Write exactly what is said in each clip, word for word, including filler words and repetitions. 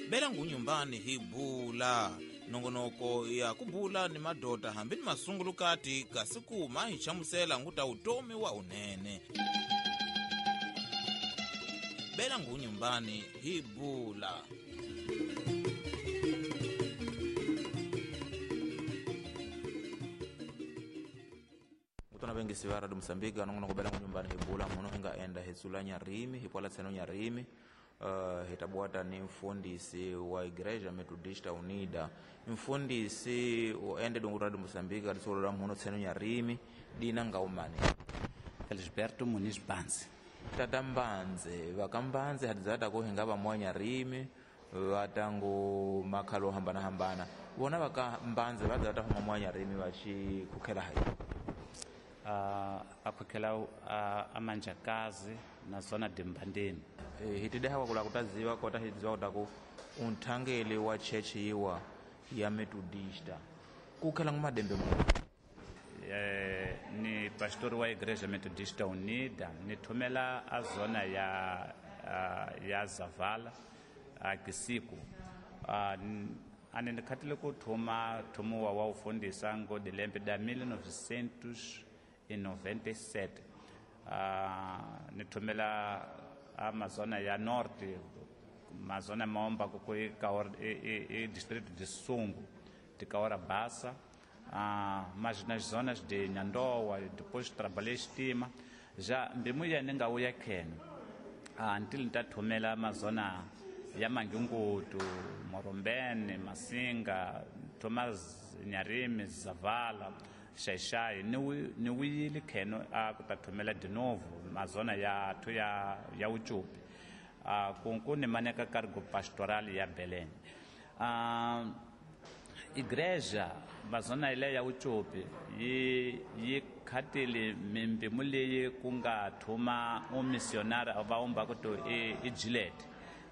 Bela ngunyumbani hi bula nongonoko ya kubula ni madoda hambi ni masungulukati kasi kuma hi chamusela nguta utomi wa unene. Bela ngunyumbani hi bula. Mutona bengi sivara do Mozambique nongonoko bela ngunyumbani hi bula muno hinga enda hetsula nyarimi hipola tseno nyarimi. Uh, hitabuata ni mfundisi wa Igreja Metodista Unida, mfundisi oende dongura do Mozambique alisolo muno tseno nyarimi dina ngaumani Felisberto Muniz Mbanze. Tata Mbanze vakambanze hadzata ko hinga va mwa nyarimi vatangu makhalo hambana hambana vona vakambanze vadzata huma mwa nyarimi vachi kukhela hayi uh, akhokela uh, amanjakazi na zona dimbandeni. E, hitideha wakula kutaziwa kota hidziwa kutaku unthangeli wa church yiwa ya Metodista kukhela ngumadembe mu e, ni pastor wa Igreja Metodista Unida nithumela a zona ya uh, ya Zavala a Kisiku uh, ane ndikhatile ku thuma thumuwa wa ufundisa ngo dilembe da mil novecentos e noventa e sete. Uh, nithumela a mazona ya norte, mazona maomba ku e, e, e distrito de Sungo, de Caora Bassa, uh, mas nas zonas de Nhandoa, depois trabalhei estima, já mbimuya ninga uya kheno. Uh, ntili ntathumela mazona ya Mangungutu, Morombene, Masinga, Thomas Nyarimi, Zavala, Xaixai, ni wuyile kheno a ku ta thumela de novo mazona ya thu ya ya Uchupi. A kunku ni maneka cargo pastoral ya Belém. A igreja mazona ile ya Uchupi yi yi khatile mimbimu leyi ku nga thuma u missionary va umba ku to e i Gillette.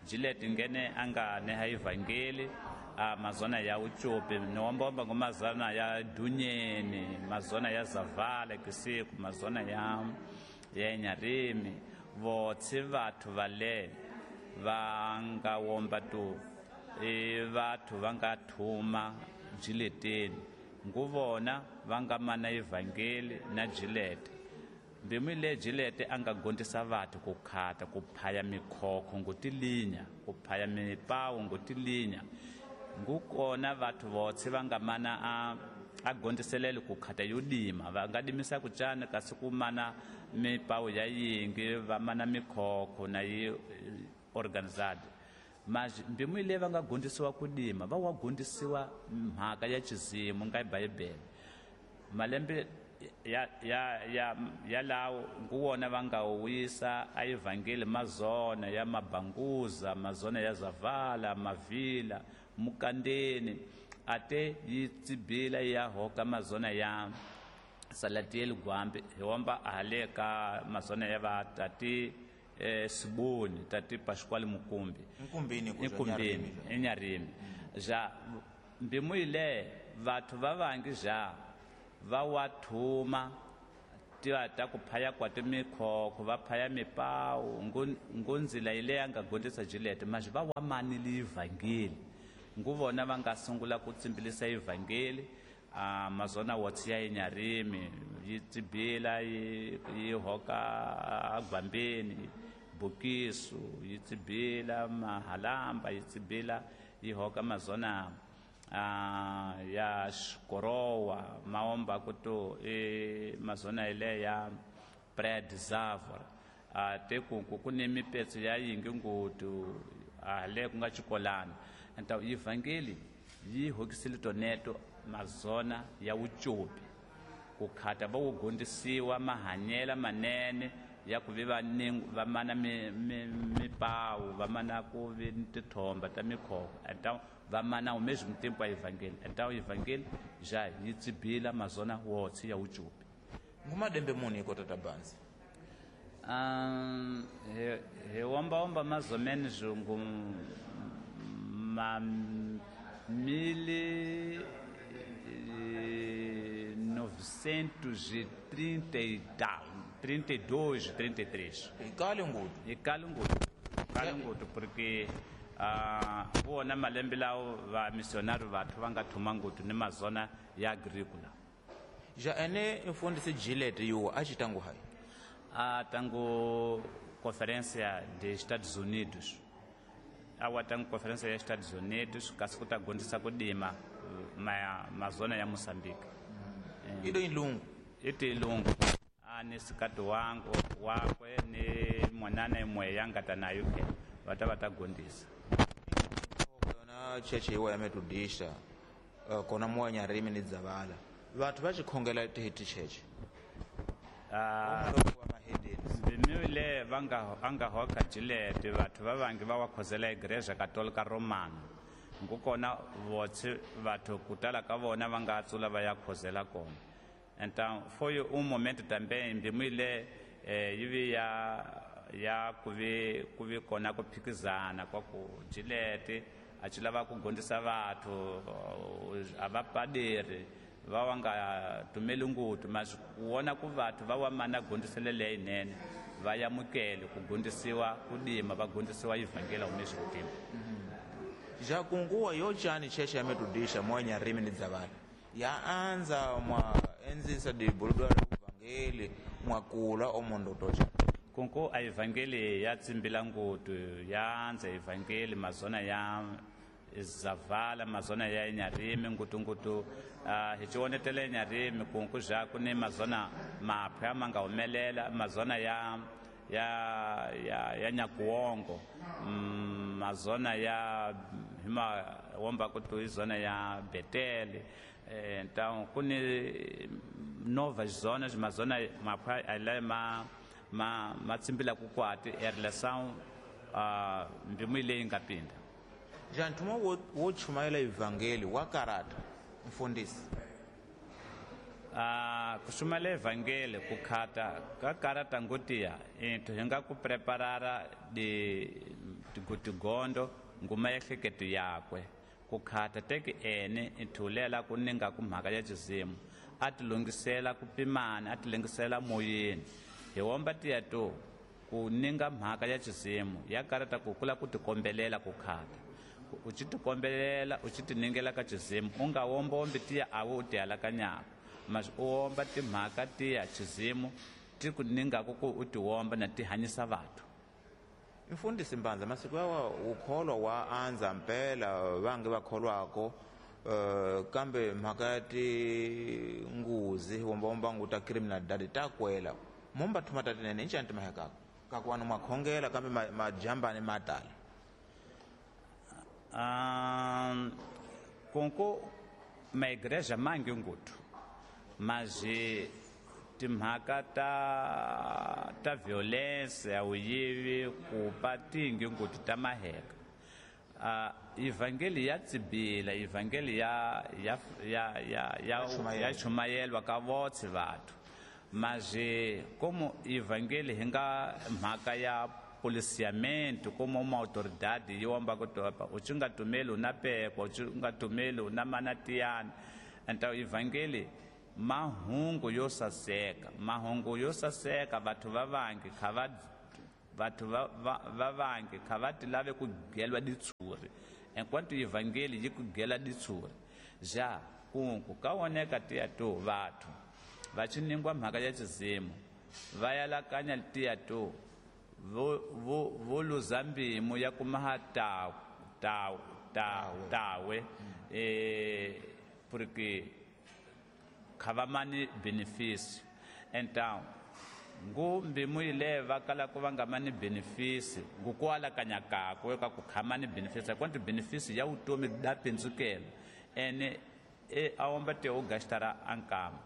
Gillette ngene anga neha evangeli a mazona ya Uchupi niwombomba ngo mazona ya Dunyeni, mazona ya Zavala Kisiku, mazona ya ya Nyarimi votse vathu vale va nga womba tu e vathu va nga thuma Gilleteni nguvona va nga mana evangeli na Gillette. Mbimu le Gillette anga gondisa vathu ku khata ku phaya mikhokho ngotilinya ku phaya mipawu ngotilinya ngukona vathu votse va nga mana a a gondiselele ku khata yo dima va nga dimisa ku cana kasi ku mana mipawu ya yingi va mana mikhokho na yi organized. Mas mbimu le va nga gondisiwa ku dima va wa gondisiwa mhaka ya chizimu nga Bibele malembe ya ya ya ya lawo nguwona va nga wisa a evangeli mazona ya Mabanguza, mazona ya Zavala, Mavila, Mukandeni ate yi tsibila ya hoka mazona ya Salatiel Gwambi hiwomba ahale ka mazona ya va tati eh, Siboni tati Pascual Mukumbi Nkumbini Nkumbini enyarimi ja mbimu ile vathu va vangi ja va wa thuma tiva ta ku phaya kwa timikhokho va phaya mipawu ngunzila ile ya nga gondisa Gillette mas va wa manile evangeli nguvona va nga sungula ku tsimbilisa evangeli a mazona wotsi ya Nyarimi yi tsibila yi yi hoka agwambeni Bukisu yi tsibila Mahalamba yi tsibila yi hoka mazona Uh, ya Xikorowa maomba kuto e mazona ile ya Praia Zavor uh, te ku ku ni mipetso ya yingi ngutu ale ku nga chikolana então evangeli yi hokisile toneto mazona ya Uchupi ku khata va wu gondisiwa mahanyela manene ya ku vi va va mana mipawu va mana ku vi tithomba ta mikhokho então va mana ao mesmo tempo a evangeli então evangeli já yi tsibila mazona wotse ya Uchupi. Ngumadembe muni ko tata Mbanze? Um he he womba womba mazomene zungu ma mil novecentos e trinta e tal, trinta e dois, trinta e três. E kale ngutu? E kale ngutu. Kale ngutu porque Ah, wona malembe lawo va missionary vathu va nga thuma ngopfu ni mazona ya agricola. Ja ene mfundisi Gillette yuwa a xi tangu hayi? A tangu conferência de Estados Unidos. A wa tangu conferência ya Estados Unidos kasi ku ta gondzisa ku dima ma mazona ya Mozambique. Mm. Ido ilungu. Iti ilungu. A ni sikati wangu wakwe ni mwanana imwe yanga ta nayo ke va ta va ta gondzisa. Yona cheche yiwa ya Methodista uh, kona moya nyarimi ni Dzavala. Vathu va xikhongela ti ticheche. Ah, bimile va nga anga hoka Gillette vathu va vangi va wa khozela igreja Katolika Romana. Ngukona votse vathu kutala ka vona va nga tsula va ya khozela kona. Então foi um momento também bimile eh, yivi ya ya kuvi kuvi kona ku phikizana kwa ku Gillette a ci lava ku gondzisa vathu a va paderi va wa nga tumeli ngopfu mas ku vona ku vathu va wa mana gondzisele leyinene va yamukele ku gondzisiwa ku dima va gondzisiwa ivhangela humeswi kutima. Ja kunguwa yo chani cheche ya Methodista moya nyarimi ni Dzavala ya anza mwa enzisa dibuludwa ivhangeli mwa kula omondo tocha. Kunku a evangeli ya tsimbila ngopfu ya anza evangeli mazona ya Zavala mazona ya Nyarimi ngutungutu uh, hi cionetele Nyarimi kunku ja ku ni mazona mapya ma nga humelela mazona ya ya ya ya Nyakuongo mm, mazona ya hima womba ku izona ya Betele eh, então ku ni novas zonas mazona mapya ala ma ma ma tsimbila ku kwati em relação a mbimu leyi nga pinda. Ja nthuma wo wo chumayela evangeli wa karata mfundisi. Ah, ku chumayela evangeli ku khata ka karata ngotiya into hi nga ku preparara di tigondo nguma ehleketo yakwe ku khata teki ene ithulela ku ninga ku mhaka ya xizimu a ti lungisela ku pimana a ti lungisela moyeni hi womba tiya to ku ninga mhaka ya xizimu ya karata ku kula ku tikombelela ku khata u tshi tikombelela u tshi tiningela ka xizimu u nga wombombi tiya a wu ti alakanyaka mas u womba timhaka tiya xizimu ti ku ningaku ku u ti womba na ti hanyisa vathu. Mfundisi Mbanza masiku yawa ukholwa wa anza mpela vange va kholwako uh, kambe mhaka ya tinguzi wombawomba ngu ta criminal dadi ta kwela momba thuma ta tinene inchani timahekaka kakuwanu mwakhongela kambe majambani ma tala. Um, kunku maigreja mangi nguthu mas timhaka ta ta violência ya vuyivi ku pa tingi nguthu ta maheka. Uh, evangeli ya tsibila evangeli ya ya ya ya ya ya chumayelwa ka votse vathu mas como evangeli hi nga mhaka ya policiamento como uma autoridade yo amba ku topa u tshi nga tumeli u na pekwa u tshi nga tumeli u na manatiyana. Então evangeli mahungu yo saseka mahungu yo saseka vathu va vangi kha va vathu va va vangi kha va ti lave ku gelwa ditshuri enquanto evangeli yi ku gela ditshuri ja kunku ka woneka tiya to vathu va tshi ningwa mhaka ya xizimu va yalakanya tiya to vo vo vo luza mbimu ya kumaha ta ta ta tawe eh porque kha va mani benefício. Então ngu mbimu ile va kala ku va nga mani benefício ngu ku alakanya kakwe ka ku kha mani benefício quanto benefício ya vutomi da pindzukela ene e a womba te u gastara ankama.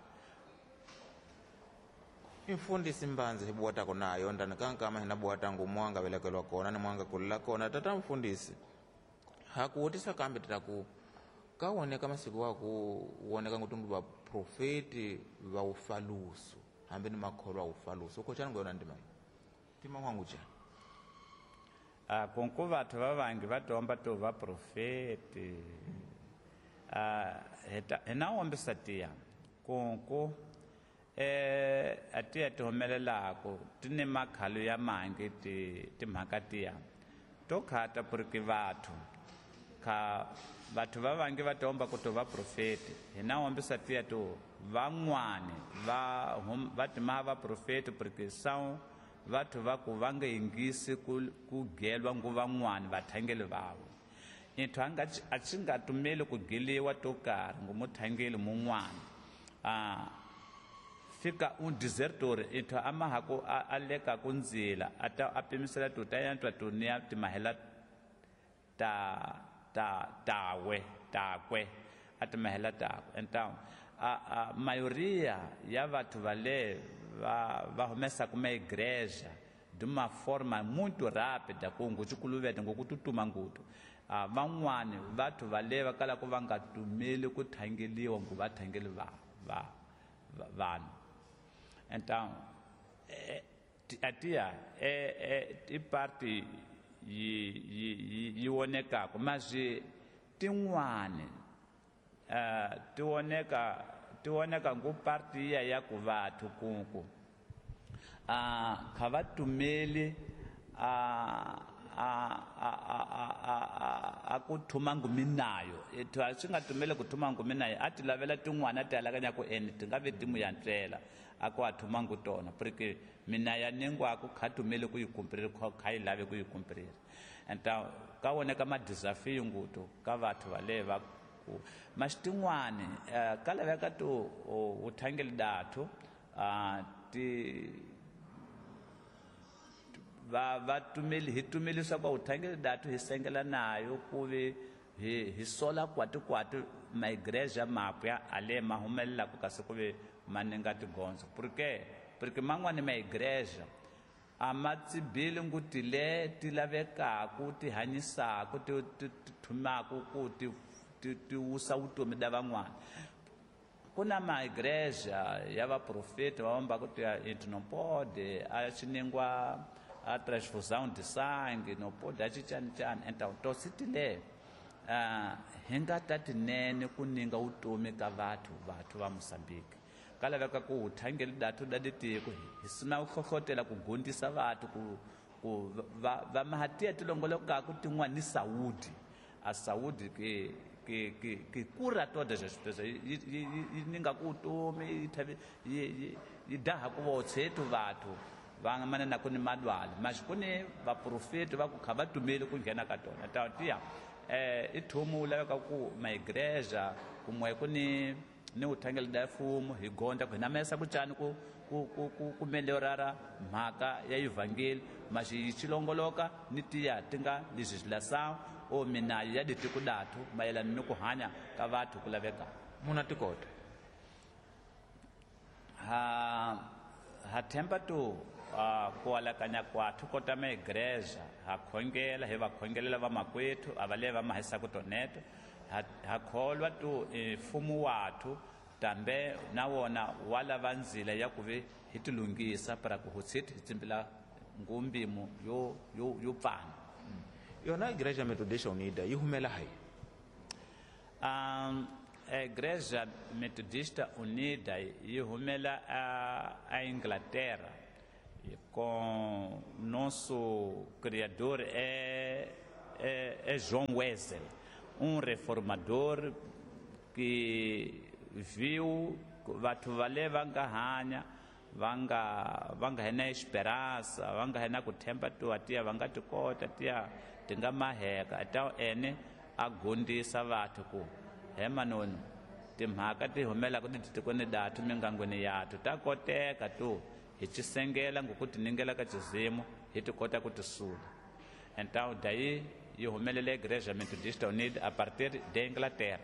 Mfundisi Mbanza hi buwatako nayo ndani kankama hina buwatangu mwanga velekelwa kona ni mwanga kulela kona tata mfundisi hakuwutisa kambe tataku kawoneka masiku waku woneka ngutundu va profeti va ufalusu hambi ni makholwa ufalusu ukochani ngoyona ndima tima mwangu cha ah konko vathu va vangi va tomba to va profeti ah heta hina wombisa tiya konko eh atiya ti humelelako ti ni makhalo ya mangi ti timhaka tiya To khata porque vathu kha vathu va vange va tomba ku to va profeti hina hombisa tiya to van'wani va va tima va profeti porque são vathu va ku va nga yingisi ku ku gelwa ngu van'wani vathangeli vavo into a nga a xi nga tumeli ku geliwa to karhi ngu muthangeli mun'wana a fika un desertor into a ma ha ku a leka ku ndzila a ta a pimisela to ta yantwa to niya timahela ta ta tawe takwe a timahela takwe então a a maioria ya vathu vale va va humesa kuma igreja de uma forma muito rápida ku nguchikuluvete ngokututuma ngutu a van'wani vathu vale va kala ku va nga tumeli ku thangeliwa ngu va thangeli va va vanhu então atia é é i parte yi yi yi wonekaka mas tin'wani eh ti woneka ti woneka ngu parte ya ya ku vathu kunku a kha va tumeli a a a a a a ku thuma nguminayo ethu a swi nga tumeli ku thuma nguminayo a ti lavela tin'wana ti alakanya ku ene ti nga ve ti mu yantswela a ku a thuma ngu tona porque mina ya nengwa ku kha tumeli ku yi cumprir kha yi lave ku yi cumprir então ka woneka ma desafio nguto ka vathu vale va ku mas tin'wani ka laveka to u thangeli dathu a ti va va tumeli hi tumelisa kwa uthangeli dathu hi sengela nayo ku vi hi hi sola kwati kwati ma igreja mapya ale ma humelela ku kasi ku vi maninga tigonzo porque porque man'wani ma igreja a ma tsibili nguti le ti lavekaku ti hanyisaku ti ti thumaku ku ti ti ti wusa vutomi da van'wana ku na ma igreja ya vaprofeti va vamba ku ti into não pode a xiningwa a transfusão de sangue não pode a chani chani então to sitile ah hi nga ta tinene ku ninga vutomi ka vathu vathu va Mozambique ka laveka ku uthangeli dathu da ditiko hi sina ku hlohlotela ku gondisa vathu ku ku va va mahatia tilongolokaku tin'wana ni saúde a saúde que que que que cura todas as pessoas yi yi ninga ku vutomi yi yi yi daha ku votshetu vathu va nga manana ku ni madwala mas ku ni vaprofeti va ku kha va tumeli ku nghena ka tona ta tiya eh i thumu laveka ku ma igreja kumwe ku ni ni uthangeli da mfumo hi gonda ku hina mesa ku cani ku ku ku ku ku melhorara mhaka ya evangeli mas yi xilongoloka ni tiya ti nga legislação ou minayo ya ditiko dathu mayelana ni ku hanya ka vathu ku laveka muna tikota ha ha themba to ku alakanya kwathu kota ma igreja ha khongela hi va khongelela vamakwethu a va le va mahisaka toneto ha ha kholwa to mfumo wathu tambe na wona wa lava ndzila ya ku ve hi tilunghisa para ku hutshiti hi tsimbila ngumbimo yo yo yo pfana yona Igreja Metodista Unida yi humela hayi um Igreja Metodista Unida yi humela a, a Inglaterra com nosso criador é, é, é João Wesley, um reformador que viu vathu vale va nga hanya va nga va nga hena esperança va nga hena ku themba tuwa tiya va nga tikota tiya ti nga maheka ta ene a gondisa vathu ku he manoni timhaka ti humelaka titikweni dathu mingangweni yathu ta koteka to hi xisengela ngoku tiningela ka xizimu hi ti kota ku tisula então daí yi humelele Igreja Metodista Unida a partir de Inglaterra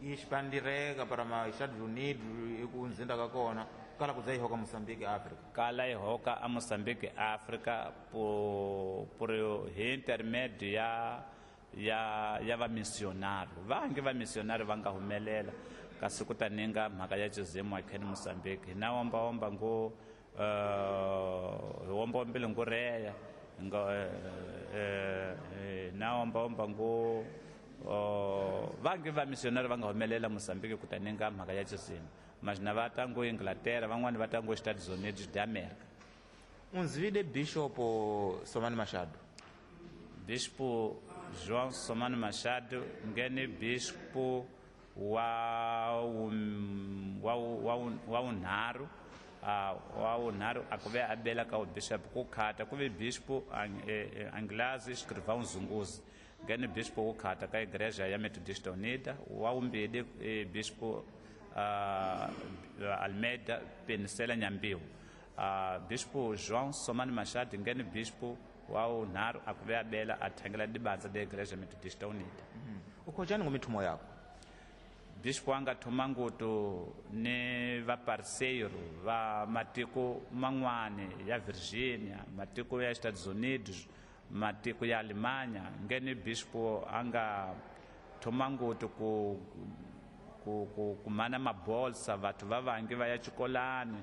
yi expandireka para ma Estados Unidos eku nzinda ka kona kala ku za yi hoka Mozambique Africa kala yi hoka a Mozambique Africa por por hi intermédio ya ya ya vamissionari vange vamissionari va nga humelela kasi ku ta ninga mhaka ya xizimu akheni Mozambique hina womba-womba ngo uh, hi womba-wombile ngo reya nga eh na womba-womba ngo vange vamissionari va nga humelela Mozambique ku ta ninga mhaka ya xizimu mas na va ta ngo Inglaterra van'wani va ta ngo Estados Unidos de América unzivile Bishop Somani Machado Bispo João Somano Machado ngene bispo wa um, wa wa wa unharu uh, wa unharu akuve abela ka bishop ku khata kuve bispo Anglazi Escrivão Zunguzi ngene bispo ku khata ka igreja ya Metodista Unida wa umbili eh, bispo uh, Almeida Penicela Nyambiu. Uh, bispo João Somano Machado ngene bispo wa unharu akuve abela athangela dibanza de igreja Metodista Unida. Mm. Ukhojani ngomithumo yakho? Bispo anga thoma ngutu ni vaparceiro va matiko man'wani ya Virginia, matiko ya Estados Unidos, matiko ya Alemanha. Ngene bispo anga thoma ngutu ku ku ku kumana mabolsa vathu va vangi va ya xikolani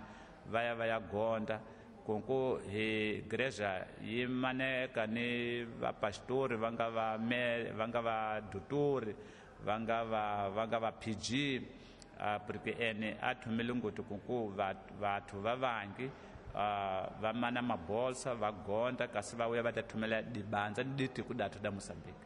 va ya va ya gonda kunku hi igreja yi maneka ni vapastori va nga va me va nga va dutori va nga va va nga va P G uh, porque ene a thomele ngopfu kunku vathu va vangi uh, va mana mabolsa va gonda kasi va vuya va ta thomela dibandza ni ditiko dathu da Mozambique.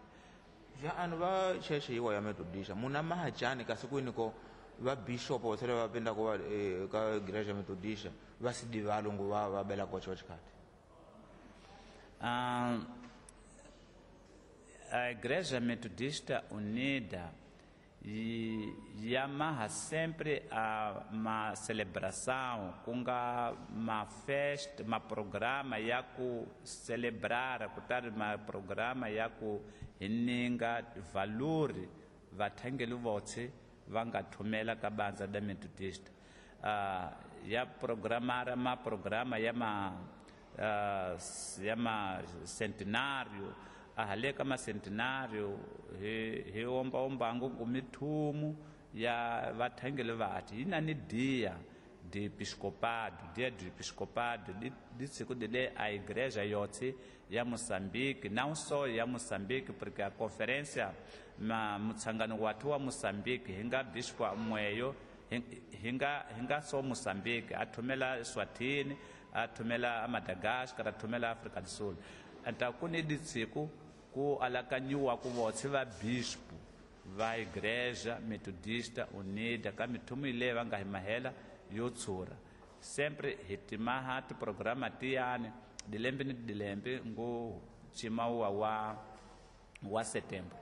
Ja anu va cheche yiwa ya Metodista muna mahajani kasi kwini ko va bishop va tlhela va penda ku va eh, ka igreja Metodista va si valungu va va bela kocho xikati? Um, a Igreja Metodista Unida yamaha sempre a uma celebração ku nga ma festa, ma programa ya ku celebrar, kutari ma programa ya ku hininga valori vathangeli votse va nga thumela ka bandza da Metodista. Uh, ya programara ma programa ya ma uh, ya ma centenário ahale ka ma centenário hi hi omba ombango ku mithumu ya vathangeli vati yi na ni dia de episcopado, dia de episcopado di di siku de le a igreja yotse ya Moçambique, não só ya Moçambique, porque a conferência ma mutsangano wathu wa Moçambique hinga bispo mweyo hinga hinga so Moçambique a thumela Eswatini, a thumela Madagascar, a thumela Africa do Sul. Então ku ni ditsiko ku alakanyiwa ku votse va bispo va Igreja Metodista Unida ka mithumu ile va nga hi mahela yo tshura sempre hi timaha tiprograma tiyani dilembe ni dilembe ngo chimawa wa wa setembro.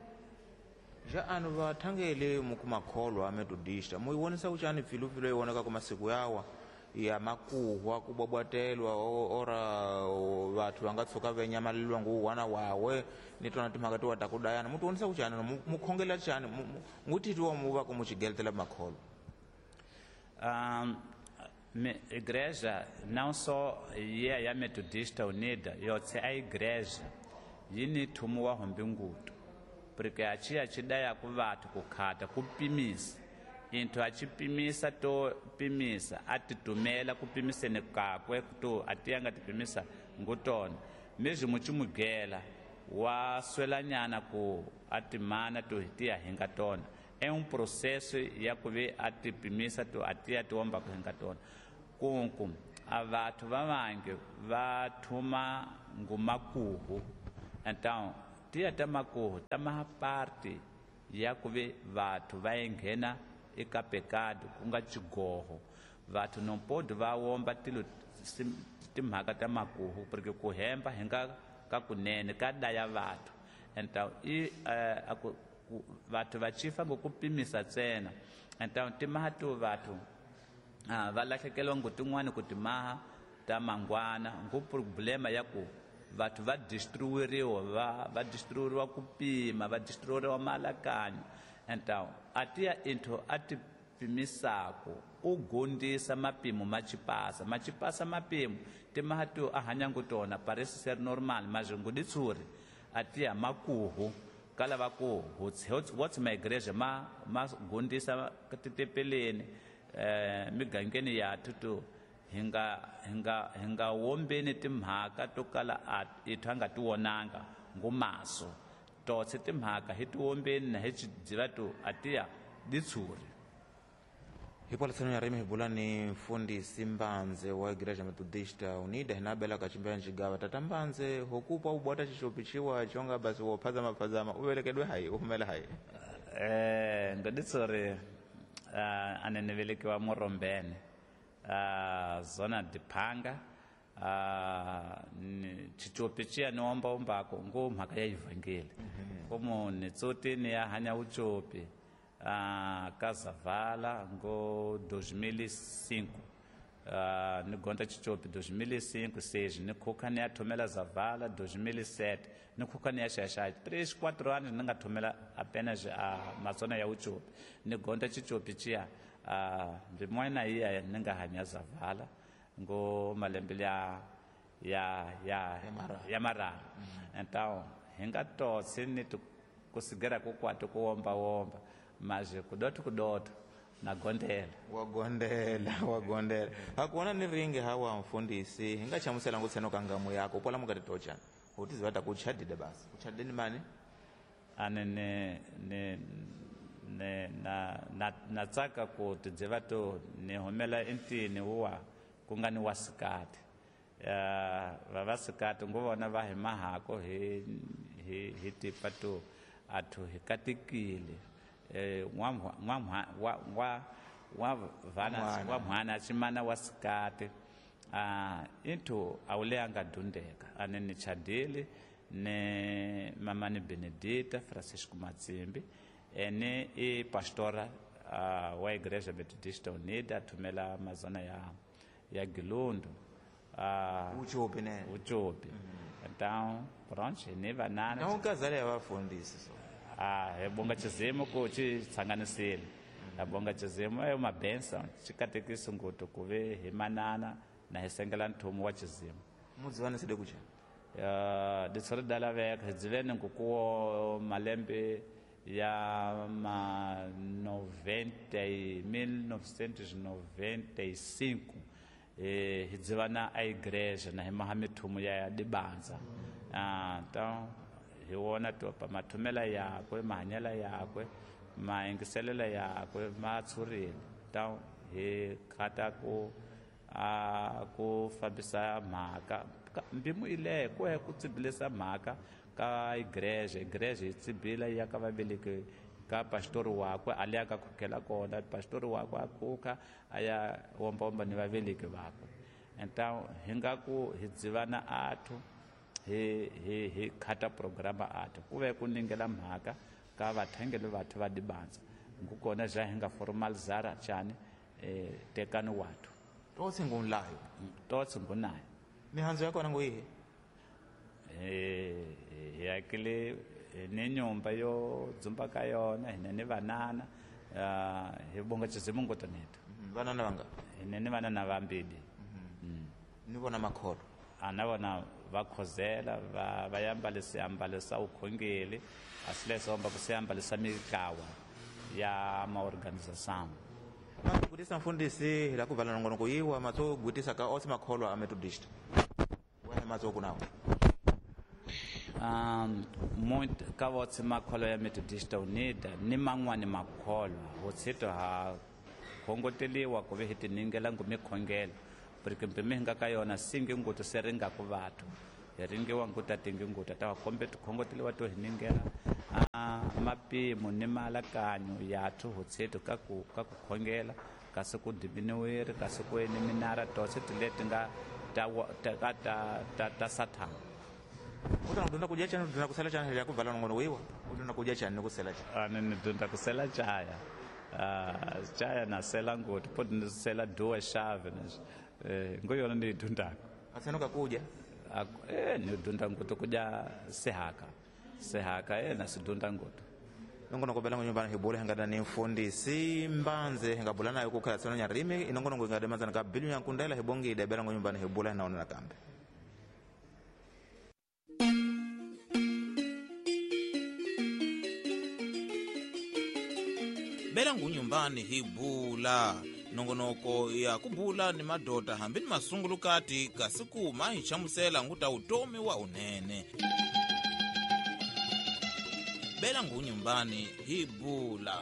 Ja anu vathangeli mukumakholwa a Metodista muyivonisa kuchani pfilupfilu yi vonaka ku masiku yawa ya makuhwa ku bwabwatelwa ora vathu va nga tshuka va nyamaleliwa ngu wana wawe ni tona timhaka tiwa ta ku dayana mu tivonisa kuchani mu khongela chani ngutitiwa mu va ku mu xigeletela makholwa? Um, igreja não só ye ya Metodista Unida yotse a igreja yi ni thumu wa hombe ngutu porque a chi a chi daya ku vathu ku khata ku pimisa into a chi pimisa to pimisa a ti tumela ku pimiseni kakwe to a ti nga ti pimisa ngutona mesmo mu chimugela wa swelanyana ku a timana to hi tiya hi nga tona. É um processo ya ku ve a ti pimisa to a tiya ti omba ku hi nga tona kunku a vathu va vangi va thuma ngumakuhu. Então tiya ta makuhu ta maha parte ya ku ve vathu va enghena eka pecado ku nga xigoho. Vathu não pode va omba tilo timhaka ta makuhu porque ku hemba hi nga ka kunene ka daya vathu. Então i uh, aku vathu va chifa ngokupimisa ntsena. Então timaha to vathu ah, va lahlekeliwa ngo tin'wani ku timaha ta mangwana ngo problema ya ku vathu va destruiriwa va va destruiriwa ku pima va destruiriwa maalakanyo. Então a tiya into a ti pimisako u gondisa mapimo ma chipasa ma chipasa mapimo timaha to a hanya ngo tona parece ser normal mas ngo ditsuri a tiya makuhu kala va ku what's my igreja ma ma gondisa titepeleni eh migangeni ya tutu hi nga hi nga hi nga wombeni timhaka to kala a ithu nga ti wonanga ngumaso totse timhaka hi ti wombeni na hi xidziva to a tiya ditshuri. Hikwalaho ya rimi hi bula ni mfundhisi Mbanze wa Igreja Metodista Unida hinabela kachimbea nchigava. Tata Mbanze, hokupa ubwata chichopichiwa chonga basi wophazama phazama uvelekedwe hayi uhumela hayi. Eh ngoditsori uh, ane ni velekiwa Morombene uh, zona diphanga uh, chichopi chiya ni ombaombako ngo mhaka ya ivhangeli komo ni tsoti ni ya hanya uchopi uh, ka Zavala ngo dois mil e cinco uh, ni gonda chichopi dois mil e cinco seis ni khuka ni ya thomela Zavala dois mil e sete ni khuka ni ya xaxaxa três quatro anos ni nga thomela apenas a mazona ya uchopi ni gonda chichopi chiya uh, mbimwana iya ni nga hanya Zavala ngo malembe ya ya ya ya mararu. Então hi nga totsi ni kusigera kukwato kuomba omba mas kudoto kudoto na gondela wa gondela wa gondela hakuona ni ringi hawa mfundisi hinga chamusela ngutseno kangamu yako pola mukati tochana utiziva takuchadide basi uchadini mani ane ne ne ne na na na tsaka ku tidziva to ni humela entini wa ku nga ni wasikati uh, vavasikati ngo vona va hi mahako hi hi hi tipa to athu hi katekile eh wa wa wa wa vana wa mwana chimana wasikati ah into awule anga dundeka ane ni chadile ne mama ni Benedita Francisco Matsimbi ene e pastora uh, wa Igreja Metodista Unida tumela mazona ya ya Gilundu uh, uchopi ne uchopi. Mm-hmm. Então pronto ne vanana na ukazale abafundisi so ah ebonga chizimo ku chi tsanganisile abonga chizimo e uma benção chikatekiso ngoto kuve hi manana na hi sengela nthomo wa chizimo mudzivana side kucha uh, ditsori dala veka dzivene ngukuwo malembe ya ma noventa mil novecentos e noventa e cinco eh hidzivana a igreja na hi maha mithumo ya dibanza. Ah então hi wona to pa mathomela yakwe mahanyela yakwe maengiselela yakwe ma tshurile. Então hi khata ku a ku fambisa mhaka mbimu ile ku ku tsibilisa mhaka ka igreja igreja yi tsibila ya ka vaveleki ka pastori wakwe a leya ka khukhela kona pastori wakwe a khuka a ya ombaomba ni vaveleki vakwe. Então hi nga ku hi dzivana athu hi hi hi khata programa athu ku ve ku ningela mhaka ka vathengeli vathu va dibanza ngukona ja hi nga formalizara chani eh tekani wathu totsi ngunlayo totsi ngunayo mihandzo ya kona nguyihi eh hi akile ni nyumba yo dzumba ka yona hina ni vanana uh, hi bonga chizimu ngotoneto vanana vanga hina ni vanana vambili. Ni vona makholo ana vona va khozela va va yambalisa yambalisa ukhongeli asilesomba kusiyambalisa mitlawa ya maorganização. Gutisa mfundisi la kuvala nongonoko yiwa matso gutisa ka osi makholo a Methodist wa matso kunawo Um, muito ka votse makholo ya Methodista Unida ni man'wani makholo hotsito ha khongoteliwa ku ve hi tiningela ngu mikhongelo porque mpime hi nga ka yona singi nguto se ringa ku vathu hi ringiwa nguta tingi nguta ta kombe tikhongoteliwa to hi ningela a mapimo ni malakanyo yathu hotsito ka ku ka ku khongela kasi ku diminuweri kasi ku eni minara tose tileti nga ta ta ta ta, ta sathana. Utana kudunda kudya chani udunda kusela chani ya kuvala nongono wiwa udunda kudya chani nokusela chani ani ni dunda kusela chaya ah chaya na sela ngoti podi nisela duas chávenas eh ngoyona ni dundako aseno kakuja eh ni dunda ngoto kudya sehaka sehaka eh na sidunda ngoto nongono kobela nyumbani hibule hangada ni mfundisi Mbanze hingabula nayo kukhala tseno nyarimi inongono ngade manzana ka bilu yankundela hibongide bela nyumbani hibule naona nakambe. Bela ngunyumbani hibula nongonoko ya kubula ni madota hambi ni masungulukati kasi kuma hi chamusela nguta utomi wa unene. Bela ngunyumbani hibula.